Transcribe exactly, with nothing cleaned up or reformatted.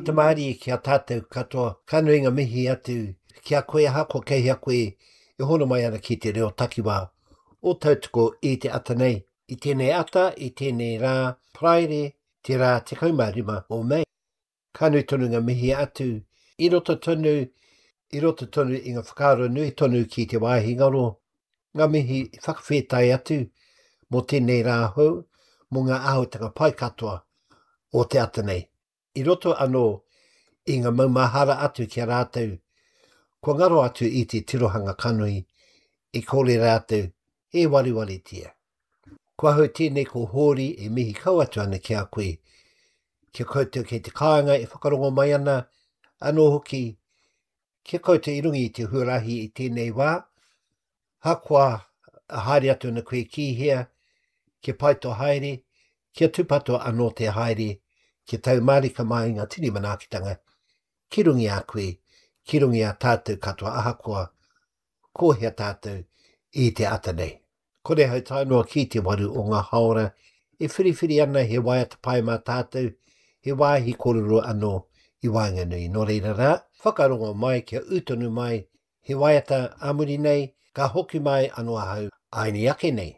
Ata mārie ki a tātou katoa, ka nui ngā mihi atu ki a koe ahakoa kei hea koe e hono mai ana ki te reo takiwā o Tautoko i te ata nei. I tēnei ata, i tēnei rā, Paraire, te rā tekau mā rima o Mei. Ka nui tonu ngā mihi atu i roto tonu, i roto tonu i ngā whakaaro nui tonu ki te wāhi ngaro, ngā mihi whakawhētai atu mō tēnei rā hou, mō ngā āhuatanga pai katoa o te ata nei. I roto anō i ngā maumahara atu ki a rātou, kua ngaro atu i te tirohanga kanohi, i kore rātou e wariwaritia. Ko ahau tēnei ko Hōri e mihi kau atu ana ki a koe, ki a koutou kei te kāinga e whakarongo mai ana, anō hoki, ki a koutou i runga i te huarahi i tēnei wā, hakoa haere atu ana koe ki hea, kia pai tō haere, kia tūpato anō te haere, kia tau mārika mai ngā tini manaakitanga, ki runga i a koe, ki runga i a tātou katoa ahakoa ko hea tātou i te ata nei. Kore hau tae noa ki te waru o ngā haora e whiriwhiri ana he waiata pai mā tātou, he wāhi kōrero anō i waenganui. Nō reira rā, whakarongo mai kia ū tonu mai, he waiata ā muri nei, ka hoki mai anō ahau āini ake nei.